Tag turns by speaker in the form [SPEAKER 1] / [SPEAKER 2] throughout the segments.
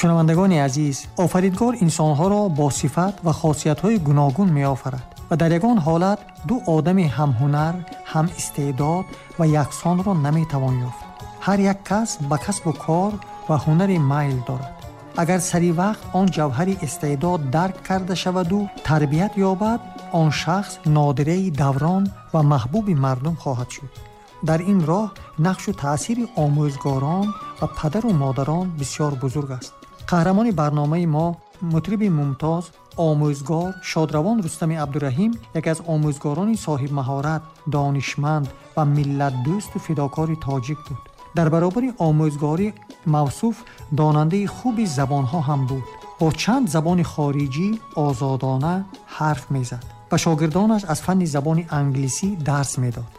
[SPEAKER 1] Шунавандагони азиз, офаридгор инсонҳоро бо сифат ва хосиятҳои гуногун меофарад ва дар ягон ҳолат ду одами ҳамҳунар, ҳам истеъдод ва яксонро наметавон ёфт. Ҳар як кас ба касбу кор ва ҳунари майл дорад. Агар сари вақт он ҷавҳари истеъдод дарк карда шаваду тарбият ёбад, он шахс нодираи даврон ва маҳбуби мардум хоҳад шуд. Дар ин роҳ нақшу таъсири омӯзгорон ва падару модарон бисёр бузург аст. Қаҳрамони барномаи мо, мутриби мумтоз, омӯзгор шодравон Рустами Абдураҳим яке аз омӯзгорони соҳибмаҳорат, донишманд ва миллатдӯсту фидокори тоҷик буд. Дар баробари омӯзгорӣ мавсуф донандаи хуби забонҳо ҳам буд. Бо чанд забони хориҷӣ озодона ҳарф мезад ва шогирдонаш аз фанни забони англисӣ дарс медод.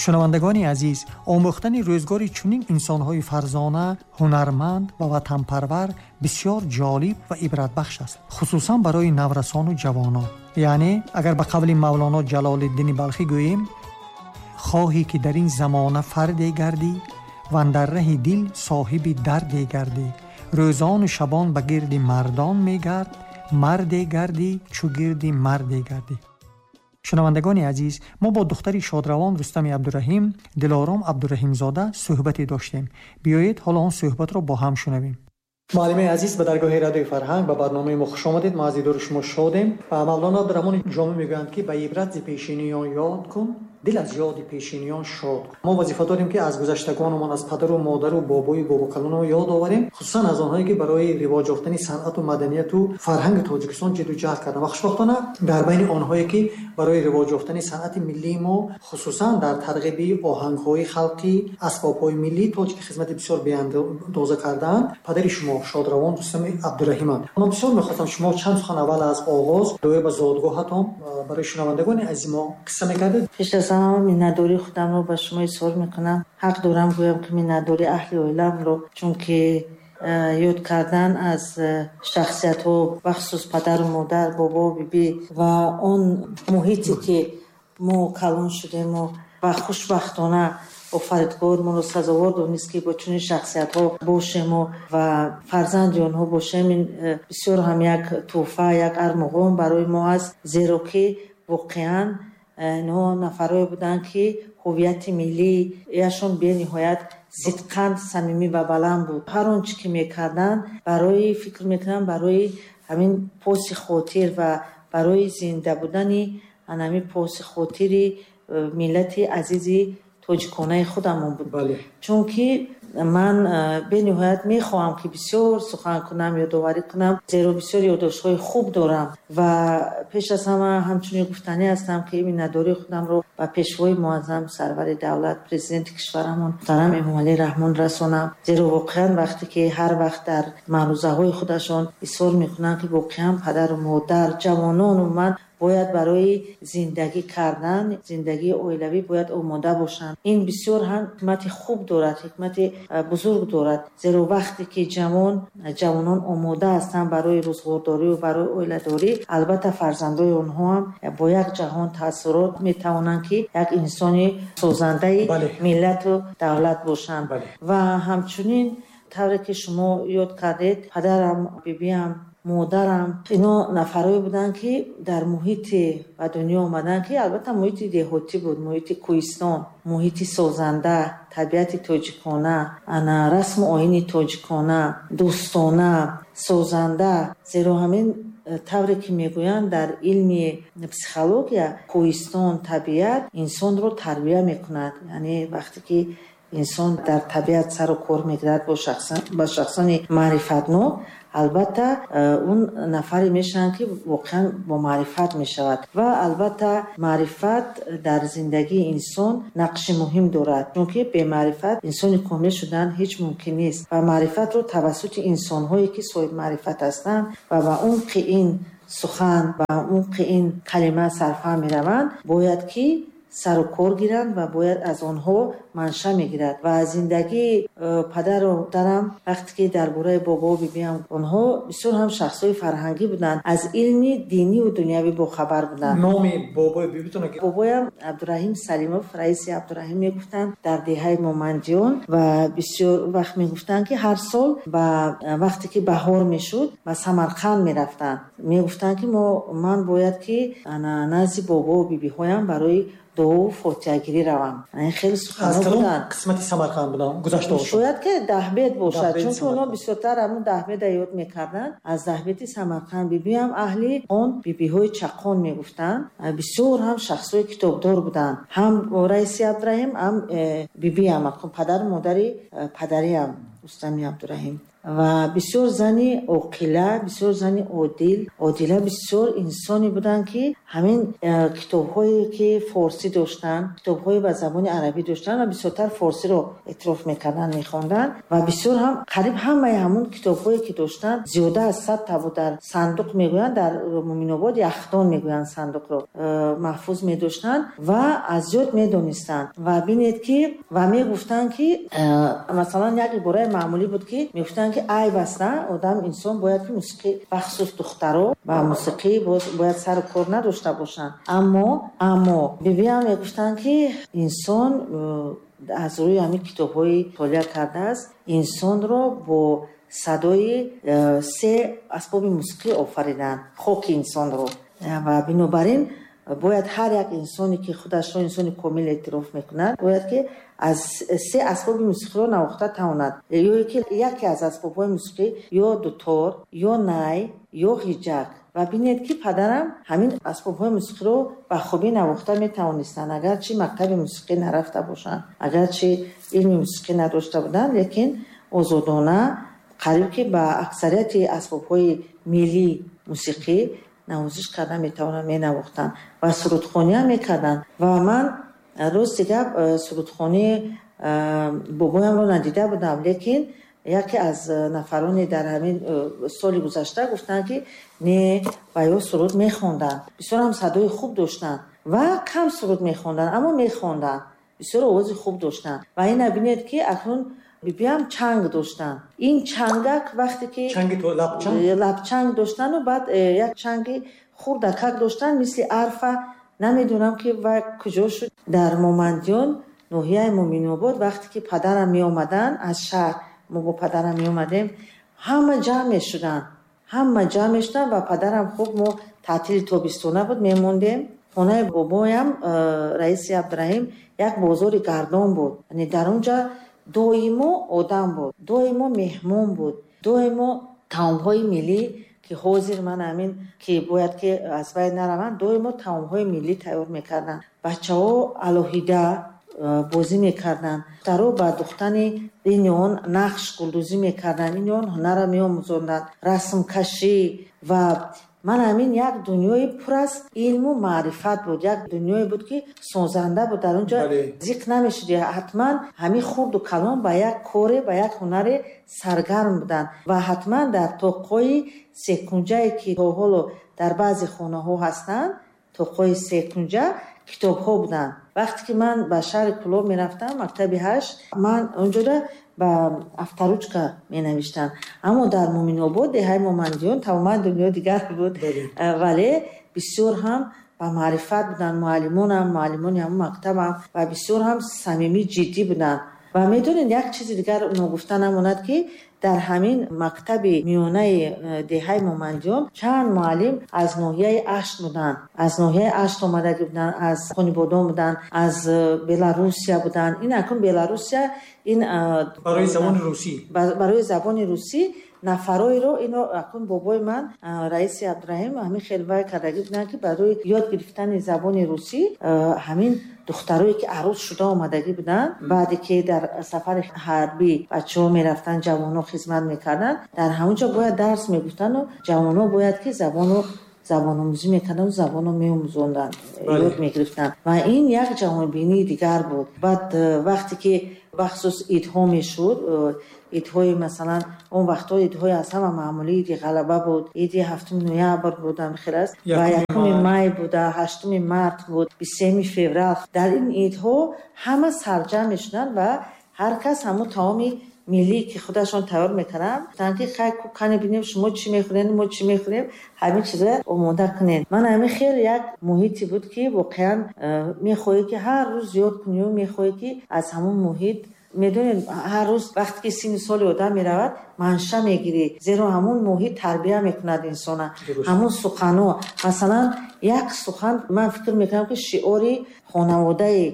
[SPEAKER 1] Шунавандагони азиз, омӯхтани рӯзгори чунин инсонҳои фарзона, ҳунарманд ва ватанпарвар бисёр ҷолиб ва ибратбахш аст, хусусан барои наврасону ҷавонон. Яъне агар ба қавли Мавлоно Ҷалолиддини Балхӣ гӯем, хоҳӣ ки дар ин замона фарде гардӣ, ва андар раҳи дил соҳиби дарде гардӣ, рӯзону шабон ба гирди мардон мегард, марде гардӣ чу гирди марде гардӣ. Шунавандагони азиз, мо бо духтари шодравон Рустами Абдураҳим, Дилором Абдураҳимзода суҳбате доштем. Биёед ҳоло он суҳбатро бо ҳам шунавем. Муаллимаи азиз, ба даргоҳи радиои фарҳанг ба барномаи мо хуш омадед. Мо аз дидори шумо шодем. Ва Мавлоно Абдураҳмони Ҷомӣ мегӯянд, ки ба ибрат зи пешиниён ёд кун, дил аз ёди пешиниён шод. Мо вазифа дорем, ки аз гузаштагонамон, аз падару модару бобою бобокалонамон ёд оварем, хусусан аз онҳое, ки барои ривоҷ ёфтани санъату маданияту фарҳанги Тоҷикистон ҷидду ҷаҳд карданд. Ва хушбахтона дар байни онҳое, ки барои ривоҷ ёфтани санъати миллии мо, хусусан дар тарғиби оҳангҳои халқӣ, асбобҳои миллии тоҷикӣ хизмати бисёр беандоза кардаанд, падари шумо шодравон Рустами Абдураҳиманд. Ман бисёр мехостам шумо чанд сухан аввал аз оғоз доир ба зодгоҳатон барои шунавандагони азизи мо қисса мекардед.
[SPEAKER 2] Пеш аз ҳама миннатдории худамро ба шумо изҳор мекунам. Ҳақ дорам гӯям, ки миннатдории аҳли оиламро, чунки ёд кардан аз шахсиятҳо, бахусус падару модар, бобо, бибӣ ва он муҳите, ки мо калон шудему ва хушбахтона офаридгор моро сазовор донист, ки бо чунин шахсиятҳо бошему ва фарзанди онҳо бошем, ин бисёр ҳам як тӯҳфа, як армуғон барои мо аст, зеро ки воқеан инҳо нафарое буданд, ки ҳувияти миллияшон бениҳоят сидқан, самимӣ ва баланд буд. Ҳар он чӣ ки мекарданд, барои фикр мекунам, барои ҳамин поси хотир ва барои зинда будани ҳамин поси хотири миллати азизи тоҷиконаи худамон буд. Чунки ман бениҳоят мехоҳам, ки бисёр сухан кунам, ёдоварӣ кунам, зеро бисёр ёддоштҳои хуб дорам ва пеш аз ҳама ҳамчунин гуфтанӣ ҳастам, ки миннатдории худамро ба пешвои муаззам, сарвари давлат, президенти кишварамон муҳтарам Эмомалӣ Раҳмон расонам, зеро воқеан вақте ки ҳар вақт дар маърузаҳои худашон изҳор мекунанд, ки воқеан падару модар, ҷавонон умуман бояд барои зиндагӣ кардан, зиндагии оилавӣ бояд омода бошанд. Ин бисёр ҳам ҳикмати хуб дорад, ҳикмати бузург дорад, зеро вақте ки ҷавонон омода ҳастанд барои рӯзғордорӣ ва барои оиладорӣ, албатта фарзандои онҳо ҳам бо як ҷаҳон таассурот метавонанд, ки як инсони созандаи миллату давлат бошанд. Ва ҳамчунин тавре ки шумо ёд кардед, падарам, бибиам, модарам, ино нафарое буданд, ки дар муҳите ба дунё омаданд, ки албатта муҳити деҳотӣ буд, муҳити кӯҳистон, муҳити созанда, табиати тоҷикона, ана расму оини тоҷикона, дӯстона, созанда. Зеро ҳамин тавре ки мегӯянд дар илми психология, кӯҳистон, табиат инсонро тарбия мекунад. Яъне вақте ки инсон дар табиат сару кор мегирад бо шахсони маърифатнок, албатта он нафаре мешаванд, ки воқеан бо маърифат мешавад. Ва албатта маърифат дар зиндагии инсон нақши муҳим дорад, чунки бемаърифат инсони комил шудан ҳеҷ мумкин нест. Ва маърифатро тавассути инсонҳое, ки соҳибмаърифат ҳастанд ва ба умқи ин сухан, ба умқи ин калима сарфаҳм мераванд, бояд ки сару кор гиранд ва бояд аз онҳо манша мегирад. Ва зиндагии падару модарам, вақте ки дар бораи бобо бибиам, онҳо бисёр ҳам шахсҳои фарҳангӣ буданд, аз илми диниву дунявӣ бохабар буданд.
[SPEAKER 1] Номи бобои бибитон?
[SPEAKER 2] Бобоям Абдураҳим Салимов, раиси Абдураҳим мегуфтанд, дар деҳаи Момандиён, ва бисёр вақт мегуфтанд, ки ҳар сол ба вақте ки баҳор мешуд, ба Самарқанд мерафтанд. Мегуфтанд, ки ман бояд ки назди бобову бибиҳоям барои дуову фотиҳагирӣ равам. Ин хеле суханҳо буданд.
[SPEAKER 1] Қисмати Самарқанд буданд, гузашта бошад.
[SPEAKER 2] Шояд ки Даҳбед бошад, чунки онҳо бисёртар ҳамун Даҳбеда ёд мекарданд. Аз Даҳбеди Самарқанд. Бибиам аҳли он бибиҳои Чақон мегуфтанд. Бисёр ҳам шахсҳои китобдор буданд. Ҳам раиси Абдураҳим, ҳам бибиам, падару модари падариам Рустами Абдураҳим. Ва бисёр зани оқила, бисёр зани одил, одила, бисёр инсоне буданд, ки ҳамин китобҳое ки форсӣ доштанд, китобҳое ба забони арабӣ доштанд ва бисёртар форсиро эътироф мекарданд, мехонданд. Ва бисёр ҳам қариб ҳамаи ҳамун китобҳое ки доштанд, зиёда аз 100 та буд, дар сандуқ мегӯянд, дар Муминобод яхдон мегӯянд сандуқро, маҳфуз медоштанд ва аз ёд медонистанд. Ва бинед ки ва мегуфтанд, ки масалан як ибораи маъмулӣ буд, ки мегуфтанд, ки айб аст, на одам, инсон бояд ки мусиқӣ, бахусус духтаро ба мусиқӣ бояд сару кор надошта бошанд. Аммо бибиам мегуфтанд, ки инсон аз рӯи ҳамин китобҳои мутолиа кардааст, инсонро бо садои се асбоби мусиқӣ офариданд, хоки инсонро. Ва бинобар ин бояд ҳар як инсоне ки худашро инсони комил эътироф мекунад, бояд ки аз се асбоби мусиқиро навохта тавонад, ё ки яке аз асбобҳои мусиқӣ, ё дутор, ё най, ё ҳиҷак. Ва бинед, ки падарам ҳамин асбобҳои мусиқиро ба хубӣ навохта метавонистанд, агарчи мактаби мусиқӣ нарафта бошанд, агарчи илми мусиқӣ надошта буданд, лекин озодона қариб ки ба аксарияти асбобҳои миллии мусиқӣ навозиш карда метавонанд, менавохтанд ва сурудхониам мекарданд. Ва ман рости гап, сурудхонии бобоямро надида будам, лекин яке аз нафароне дар ҳамин соли гузашта гуфтанд, ки не, ва ё суруд мехонданд, бисёр ҳам садои хуб доштанд ва кам суруд мехонданд, аммо мехонданд, бисёр овози хуб доштанд. Ва ина бинед, ки акнун бибиам чанг доштанд. Ин чангак вақте ки
[SPEAKER 1] чанги то лабчанг?
[SPEAKER 2] Лабчанг доштану баъд як чанги хурдакак доштанд, мисли арфа, намедонам ки вай куҷо шуд. Дар Момандиён, ноҳияи Муминобод, вақте ки падарам меомаданд аз шаҳр, мо бо падарам меомадем, ҳама ҷамъ мешуданд, ҳама ҷамъ мешуданд ва падарам хуб, мо таътили тобистона буд, мемондем. Хонаи бобоям раиси Абдураҳим як бозори гардон буд, яъне дар он ҷа доимо одам буд, доимо меҳмон буд, доимо таомҳои миллӣ, ки ҳозир ман ҳамин ки бояд ки аз байн нараванд, доимо таомҳои миллӣ тайёр мекарданд. Бачаҳо алоҳида бозӣ мекарданд, духтаро ба духтани ин он нақш гулдӯзӣ мекарданд, ин он ҳунарро меомӯзонданд, расмкашӣ. Ва ман ҳамин як дунёи пур аз илму маърифат буд, як дунёе буд, ки созанда буд. Дар он ҷо зиқ намешуд, ҳатман ҳамин хурду калон ба як коре, ба як ҳунаре саргарм буданд. Ва ҳатман дар тоқҳои секунҷае, ки то ҳоло дар баъзе хонаҳо ҳастанд, тоқҳои секунҷа, китобҳо буданд. Вақте ки ман ба шаҳри Кӯлоб мерафтам, мактаби 8, ман онҷода ба авторучка менавиштам. Аммо дар Муминобод, деҳаи Момандиён, тамоман дунё дигар буд. Вале бисёр ҳам ба маърифат буданд муаллимонам, муаллимони ҳамон мактабам, ва бисёр ҳам самимӣ, ҷиддӣ буданд. Ва медонед, як чизи дигар ногуфта намонад, ки дар ҳамин мактаби миёнаи деҳаи Момандиён чанд муаллим аз ноҳияи Ашт буданд, аз ноҳияи Ашт омадагӣ буданд, аз Қонибодом буданд, аз Беларусия буданд. Ин акнун Беларусия ин
[SPEAKER 1] барои забони русӣ,
[SPEAKER 2] барои забони русӣ нафароеро ино акнун бобои ман раиси Абдураҳим ҳамин хел вай кардагӣ буданд, ки барои ёд гирифтани забони русӣ ҳамин духтарое ки арӯс шуда омадагӣ буданд, баъде ки дар сафари ҳарбӣ бачаҳо мерафтанд, ҷавонҳо хизмат мекарданд, дар ҳамон ҷо бояд дарс мегуфтанду ҷавонҳо бояд ки забону забономӯзӣ мекарданд, забонро меомӯзонданд, ёд мегирифтанд. Ва ин як ҷаҳонбинии дигар буд. Баъд вақте ки Бахусус идҳо мешуд, идҳои масалан он вақтҳо идҳои аз ҳама маъмулӣ иди ғалаба буд, иди 7 ноябр буд, ҳамин аст, ва 1 май буда, 8 март буд, 23 феврал. Дар ин идҳо ҳама сарҷамъ мешуданд ва ҳар кас ҳамон таоми миллӣ ки худашон тайёр мекарданд, гуфтанд ки хай кане бинем шумо чӣ мехӯред, мо чӣ мехӯрем, ҳамин чизро омода кунед. Ман ҳамин хеле як муҳите буд ки воқеан мехоҳӣ ки ҳар рӯз ёд кунӣ, мехоҳӣ ки аз ҳамон муҳит, медонед, ҳар рӯз вақте ки синни соли одам меравад, манша мегирӣ, зеро ҳамон муҳит тарбия мекунад инсона. Ҳамон суханҳо, масалан як сухан, ман фикр мекунам ки шиори хонаводаи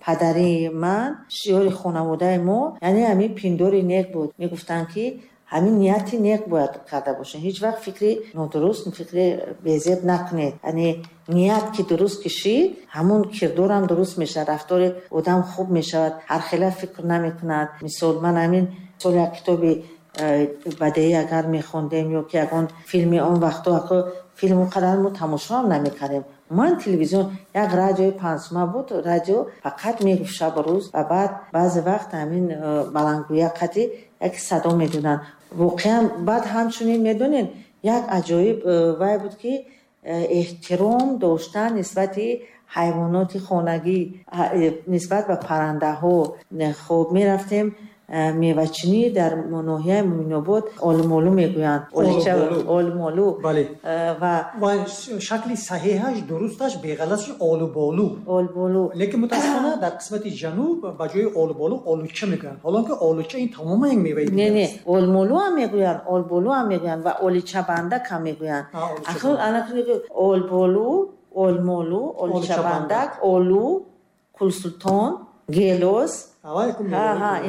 [SPEAKER 2] падари ман, шиори хонаводаи мо, яъне ҳамин пиндори нек буд. Мегуфтанд ки ҳамин нияти нек бояд карда бошед, ҳеҷ вақт фикри нодуруст, фикри безеб накунед. Яъне ният ки дуруст кишид, ҳамон кирдорам дуруст мешавад, рафтори одам хуб мешавад, ҳар хела фикр намекунад. Мисол ман ҳамин сол як китоби бадеӣ агар мехондем ё ки ягон филми он вақтҳо, филм он қадар мо тамошо ҳам намекардем. Ман телевизион, як радиои пансума буд, радио фақат мегуфт шабу рӯз, ва баъд баъзе вақт ҳамин баландгӯя қати як садо медоданд. Воқеан баъд ҳамчунин медонед, як аҷоиб вай буд ки эҳтиром доштан нисбати ҳайвоноти хонагӣ, нисбат ба паррандаҳо. Хоб мерафтем мевачинӣ дар ноҳияи Муъминобод, олмолу мегӯянд, олмолу.
[SPEAKER 1] Ва шакли саҳеҳаш, дурусташ, беғалаташ олуболу.
[SPEAKER 2] Олболу.
[SPEAKER 1] Лекин мутаассифона дар қисмати ҷануб ба ҷои олуболу олуча мегӯянд, ҳолон ки олуча ин тамоман як меваи дигар
[SPEAKER 2] аст. Не, олмолу ҳам мегӯянд, олболу ҳам мегӯянд ва оличабандак ҳам мегӯянд. Олболу, олмолу, оличабандак, олу, кулсултон, гелос.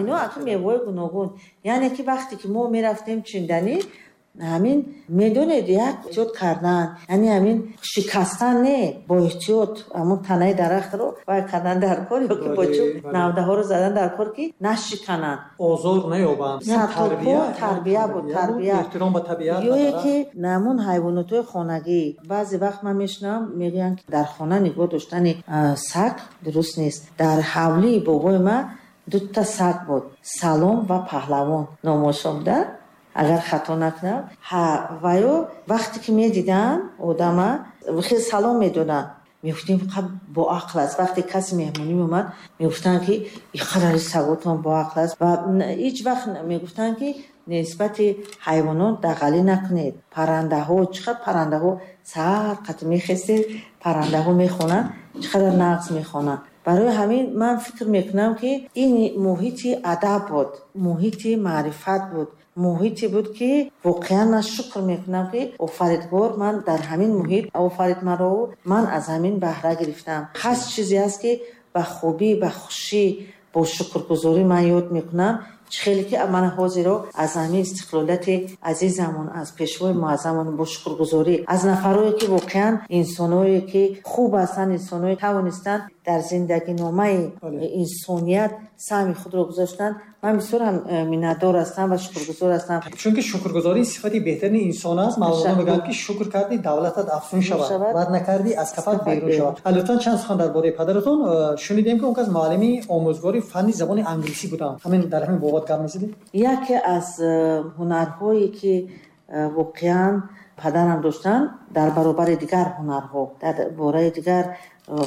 [SPEAKER 2] Ино аки меваҳои гуногун. Яъне ки вақте ки мо мерафтем чинданӣ, ҳамин медонед, як эҳтиёт кардан, яъне ҳамин шикастан не, бо эҳтиёт ҳамон танаи дарахтро вай кардан дар кор, ё ки бо чӯб навдаҳоро задан дар кор ки нашикананд,
[SPEAKER 1] озор наёбанд.
[SPEAKER 2] Тарбия буд, тарбия,
[SPEAKER 1] эҳтиром ба табиат.
[SPEAKER 2] Ё ки ҳамон ҳайвонотҳои хонагӣ. Баъзе вақт ман мешунавам, мегӯянд ки дар хона нигоҳ доштани саг дуруст нест. Дар ҳавлии бобои ман дута саг буд, Салом ва Паҳлавон номошон буда, агар хато накунам. Ва ё вақте ки медиданд одама, хеле салом медоданд, мегуфтем фақат боақл аст. Вақте касе меҳмонӣ меомад, мегуфтанд ки ин қадари саготон боақл аст. Ва ҳеҷ вақт мегуфтанд ки нисбати ҳайвонот дағалӣ накунед. Паррандаҳо, чӣ қадр паррандаҳо саҳар қати мехестед, паррандаҳо мехонанд, чӣ қадар нағз мехонанд. Барои ҳамин ман фикр мекунам ки ин муҳити адаб буд, муҳити маърифат буд, муҳите буд ки воқеан ман шукр мекунам ки офаридгор ман дар ҳамин муҳит офарид маро, ман аз ҳамин баҳра гирифтам. Ҳаст чизе аст ки ба хубӣ, ба хушӣ, бо шукргузорӣ ман ёд мекунам. Хеле ки ман ҳозиро аз ҳамин истиқлолияти азизамон, аз пешвои муаззамон бо шукргузорӣ, аз нафарое ки воқеан инсоное ки хуб ҳастанд, инсоное тавонистанд дар зиндагиномаи инсоният саҳми худро гузоштанд, ман бисёр ҳам миннатдор ҳастам ва шукргузор ҳастам.
[SPEAKER 1] Чунки шукргузорӣ сифати беҳтарини инсон аст. Мавлоно мегӯянд ки шукр кардӣ давлатат афзун шавад, бад накардӣ аз кафат берун шавад. Лутфан чанд сухан дар бораи падаратон шунидем ки он кас муаллими омӯзгори фанни забони англисӣ буданд. Ҳамин дар ҳамин бобат гап мезадед?
[SPEAKER 2] Яке аз ҳунарҳое ки воқеан падарам доштанд, дар баробари дигар ҳунарҳо, дар бораи дигар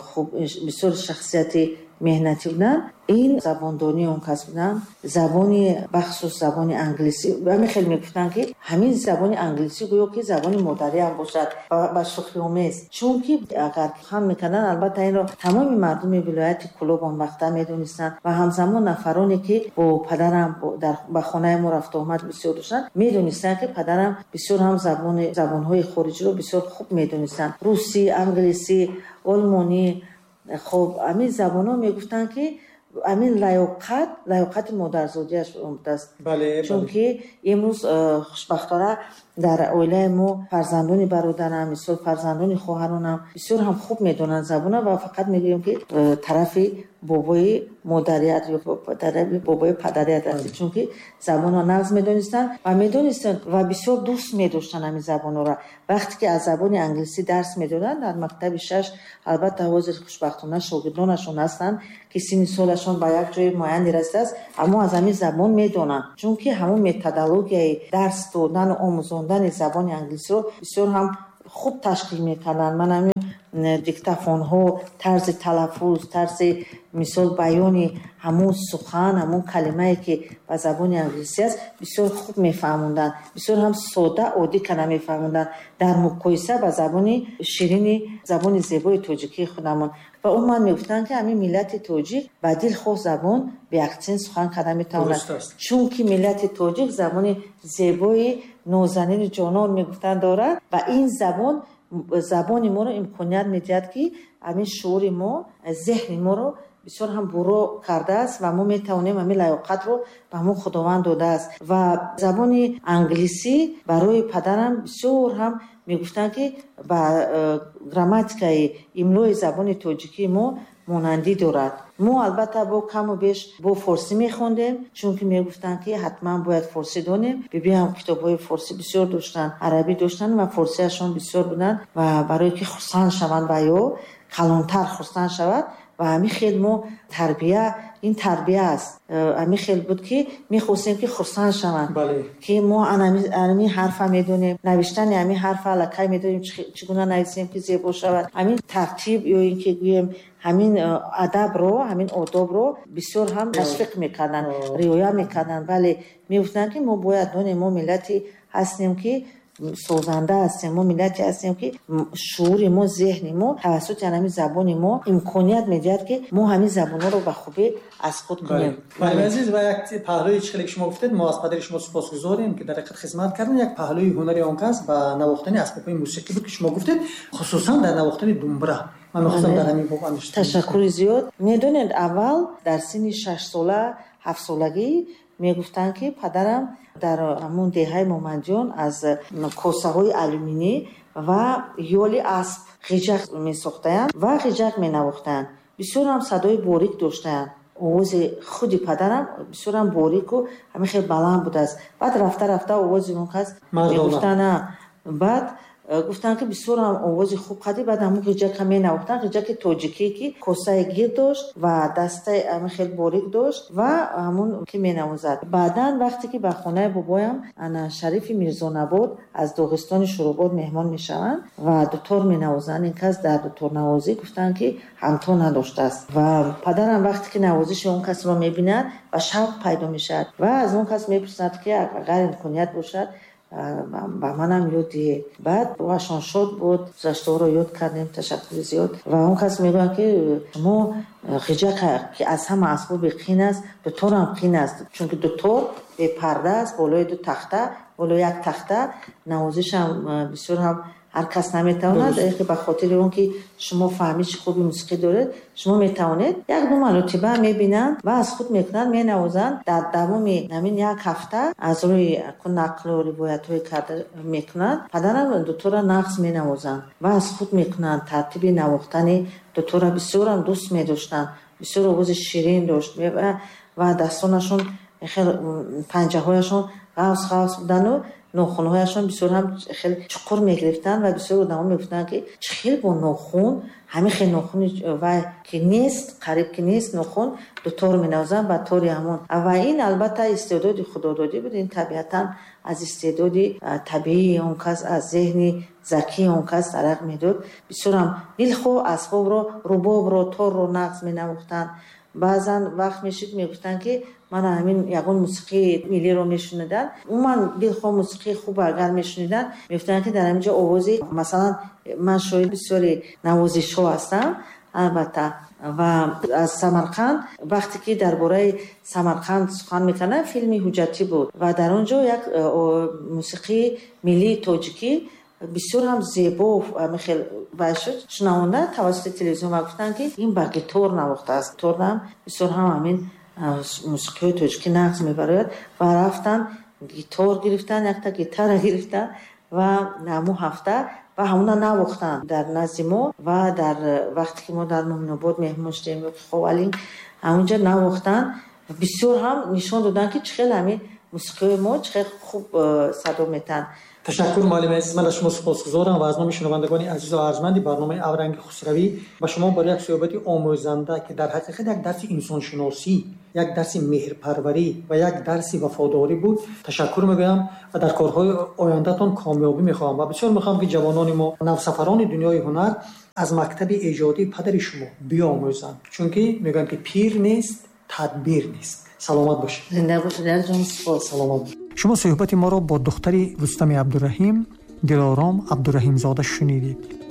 [SPEAKER 2] хуб бисёр шахсияти меҳнатӣ буданд, ин забондонии он кас буданд. Забони бахусус забони англисӣ. Ҳамин хел мегуфтанд ки ҳамин забони англисӣ гӯё ки забони модарӣ ҳам бошад ва шӯхиомез. Чунки агар хан мекарданд, албатта инро тамоми мардуми вилояти Кӯлоб он вақта медонистанд ва ҳамзамон нафароне ки бо падарам ба хонаи мо рафту омад бисёр доштанд, медонистанд ки падарам бисёр ҳам забонҳои хориҷиро бисёр хуб медонистанд. Русӣ, англисӣ, олмонӣ. Хоб ҳамин забонҳо мегуфтанд ки ҳамин лаёқат, лаёқати модарзодиаш будааст. Чунки имрӯз хушбахтона дар оилаи мо фарзандони бародарам, мисол фарзандони хоҳаронам бисёр ҳам хуб медонанд забона ва фақат мегӯем ки тарафи бобои модарият ё тарафи бобои падарият аст, чунки забонро нағз медонистанд ва медонистанд ва бисёр дӯст медоштанд ҳамин забонҳоро. Вақте ки аз забони англисӣ дарс медоданд дар мактаби 6, албатта ҳозир хушбахтона шогирдонашон ҳастанд ки синни солашон саводашон ба як ҷои муайяне расидааст, аммо аз ҳамин забон медонанд, чунки ҳамон методологияи дарс додану омӯзондани забони англисиро бисёр ҳам хуб ташкил мекарданд. Ман ҳамин диктофонҳо, тарзи талаффуз, тарзи мисол баёни ҳамон сухан, ҳамон калимае, ки ба забони англисӣ аст, бисёр хуб мефаҳмонданд, бисёр ҳам сода, оддӣ кана мефаҳмонданд дар муқоиса ба забони ширини, забони зебои тоҷикии худамон. Ва умуман мегуфтанд, ки ҳамин миллати тоҷик ба дилхоҳ забон беаксент сухан карда метавонад, чунки миллати тоҷик забони зебои нозанини ҷонон, мегуфтанд, дорад ва ин забон забони моро имконият медиҳад, ки ҳамин шуури мо, зеҳни моро бисёр ҳам буро кардааст ва мо метавонем, ҳамин лаёқатро ба мо Худованд додааст. Ва забони англисӣ барои падарам бисёр ҳам мегуфтанд, ки ба грамматикаи имлои забони тоҷикии мо монандӣ дорад. Мо албатта бо каму беш бо форсӣ мехондем, чунки мегуфтанд, ки ҳатман бояд форсӣ донем. Бибиам китобҳои форсӣ бисёр доштанд, арабӣ доштанд ва форсиашон бисёр буданд ва барое ки хурсанд шаванд ва ё калонтар хурсанд шавад. Ва ҳамин хел мо тарбия, ин тарбия аст, ҳамин хел буд, ки мехостем, ки хурсанд шаванд, ки мо ҳамин ҳарфа медонем, навиштани ҳамин ҳарфа аллакай медонем, чӣ гуна нависем, ки зебо шавад. Ҳамин тартиб ё ин ки гӯем ҳамин адабро, ҳамин одобро бисёр ҳам ташвиқ мекарданд, риоя мекарданд. Вале мегуфтанд, ки мо бояд донем, мо миллате ҳастем, ки созанда ҳастем, мо миллате ҳастем, ки шуури мо, зеҳни мо тавассути ҳамин забони мо имконият медиҳад, ки мо ҳамин забонҳоро ба хубӣ аз худ кунем.
[SPEAKER 1] Бале, азиз, ва як паҳлӯи чӣ, ки шумо гуфтед, мо аз падари шумо сипосгузорем, ки дар ҳақиқат хизмат карданд. Як паҳлӯи ҳунари он кас ба навохтани асбобҳои мусиқӣ буд, ки шумо гуфтед, хусусан дар навохтани думбра. Ман мехостам дар ҳамин боб андеша.
[SPEAKER 2] Ташаккури зиёд. Медонед, аввал дар синни 6 сола, 7 солагӣ мегуфтанд, ки падарам дар ҳамун деҳаи Моманҷон аз косаҳои алюминӣ ва ёли асп ғиҷак месохтаянд ва ғиҷак менавохтанд. Бисёрам садои борик доштанд. Овози худи падарам бисёрам борику ҳамин хел баланд будааст. Баъд рафта рафта овози он кас мегуфтанд, баъд гуфтанд, ки бисёрам овози хуб қадӣ. Баъд ҳамун ғиҷака менавохтанд, ғиҷаки тоҷикӣ, ки косаи гир дошт ва дастаи ҳамин хел борик дошт ва ҳамун ки менавозад. Баъдан вақте ки ба хонаи бобоям ана Шарифи Мирзонабод аз Доғистони Шуробод меҳмон мешаванд ва дутор менавозанд, ин кас дар дуторнавозӣ гуфтанд, ки ҳамто надоштааст. Ва падарам вақте ки навозиши он касро мебинад, ба шавқ пайдо мешавад ва аз он кас мепурсад, ки агар имконият бошад, ба манам ёд диҳед. Баъд рӯҳашон шод буд, гузаштаҳоро ёд кардем, ташаккури зиёд. Ва он кас мегӯяд, ки шумо ғиҷака, ки аз ҳама асбоби қин аст, дуторам қин аст, чунки дутор бепарда аст, болои ду тахта, болои як тахта навозишам бисёр ҳам ҳар кас наметавонад. Ба хотири он ки шумо фаҳмиши хуби мусиқӣ доред, шумо метавонед. Як ду маротиба мебинанд ва аз худ мекунанд, менавозанд. Дар давоми ҳамин як ҳафта аз рӯи нақлу ривоятҳое карда мекунанд, падарам дутора нағз менавозанд ва аз худ мекунанд. Тартиби навохтани дутора бисёрам дӯст медоштанд, бисёр овози ширин дошт ва дастонашон хел, панҷаҳояшон ғафс ғафс будану нохунҳояшон бисёр ҳам хеле чуқур мегирифтанд. Ва бисёр одамо мегуфтанд, ки чӣ хел бо нохун, ҳамин хел нохуни вай ки нест, қариб ки нест нохун, дутор менавозанд ба тори ҳамон. Ва ин албатта истеъдоди худододӣ буд, ин табиатан аз истеъдоди табиии он кас, аз зеҳни закии он кас дарак медод. Бисёрам дилхоҳ асбобро, рубобро, торро нағз менавохтанд. Баъзан вақт мешид, мегуфтанд, ки мана ҳамин ягон мусиқии миллиро мешуниданд, умуман дилхоҳ мусиқии хуб агар мешуниданд, мегуфтанд, ки дар ҳамин ҷо овози, масалан, ман шоҳиди бисёри навозишҳо ҳастам албатта. Ва аз Самарқанд, вақте ки дар бораи Самарқанд сухан мекарданд, филми ҳуҷҷатӣ буд ва дар он ҷо як мусиқии миллии тоҷикӣ бисёр ҳам зебо хел вай шуд, шунавонда тавассути телевизион, ва гуфтанд, ки ин ба гитор навохтааст. Гиторам бисёр ҳам ҳамин мусиқиҳои тоҷикӣ нағз мебарояд. Ва рафтан гитор гирифтан, якта гитара гирифтан ва ҳамун ҳафта ва ҳамуна навохтанд дар назди мо. Ва дар вақте ки мо дар Муминобод меҳмон шудем ё Ховалинг, ҳамунҷа навохтанд. Бисёр ҳам нишон доданд, ки чӣ хел ҳамин Мусиқиҳои мо чӣ хел хуб садо метаҳанд.
[SPEAKER 1] Ташаккур, муаллими азиз, ман аз шумо сипосгузорам ва аз номи шунавандагони азизу арҷманди барномаи Авранги Хусравӣ ба шумо барои як суҳбати омӯзанда, ки дар ҳақиқат як дарси инсоншиносӣ, як дарси меҳрпарварӣ ва як дарси вафодорӣ буд, ташаккур мегӯям ва дар корҳои ояндатон комёбӣ мехоҳам ва бисёр мехоҳам, ки ҷавонони мо, навсафарони дунёи ҳунар аз мактаби эҷодии падари шумо биомӯзанд, чунки мегӯянд, ки пир нест, тадбир нест. Саломат бошед.
[SPEAKER 2] Зинда бошед, ҷон, сипос.
[SPEAKER 1] Саломат бошед. Шумо суҳбати моро бо духтари Рустами Абдураҳим, Дилором Абдураҳимзода шунидед.